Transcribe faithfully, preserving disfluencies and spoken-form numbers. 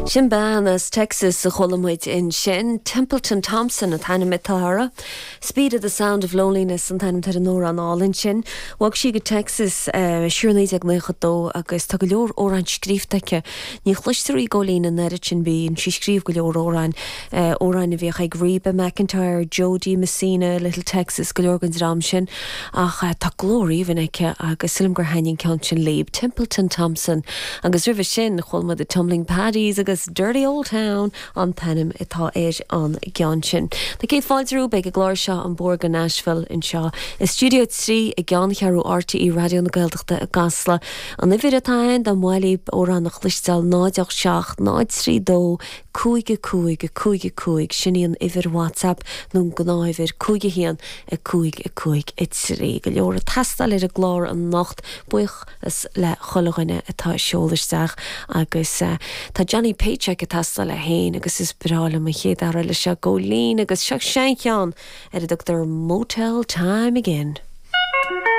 Sin bean as Texas a chuala muid ansin Templeton Thompson an t-ainm atá uirthi. Speed of the Sound of Loneliness an t-ainm ar an amhrán álainn sin. Bhog sí go Texas uh, siar naoi déag nócha dó agus tá go leor amhrán scríofa aici. Ní chloistear í Góilín an oiread sin bíonn sí ag scríobh go leor amhrán uh, amhráin a bhíodh ag Reba McIntyre, Jo Dee Messina, Little Texas go leor den dream sin ach uh, tá glór aoibhinn aici agus sílim gur thaitin an ceann sin libh Templeton Thompson agus roimhe sin chuala muid the Tumbling Paddies agus Dirty Old Town an t-ainm atá ar an gceann sin. Tá céad fáilte romhaibh ag an gclár seo an Bóthar go Nashville anseo. I stiúideo trí i gceanncheathrú RTÉ Raidió na Gaeltachta i gCasla. An uimhir atá ann dá mba mhaith libh amhrán a chloisteáil náid ocht seacht náid trí dó cúig cúig cúig cúig sin í an uimhir WhatsApp nó gnáthuimhir cúig haon a cúig a cúig a trí. Go leor ag teastáil ar an gclár anocht buíochas le chuile dhuine atá ag seoladh isteach agus uh, tá Johnny Paycheck ag teastáil féin agus is breá liom an chéad fhear eile seo Góilín agus seo seancheann ar a dtugtar Motel Time Again.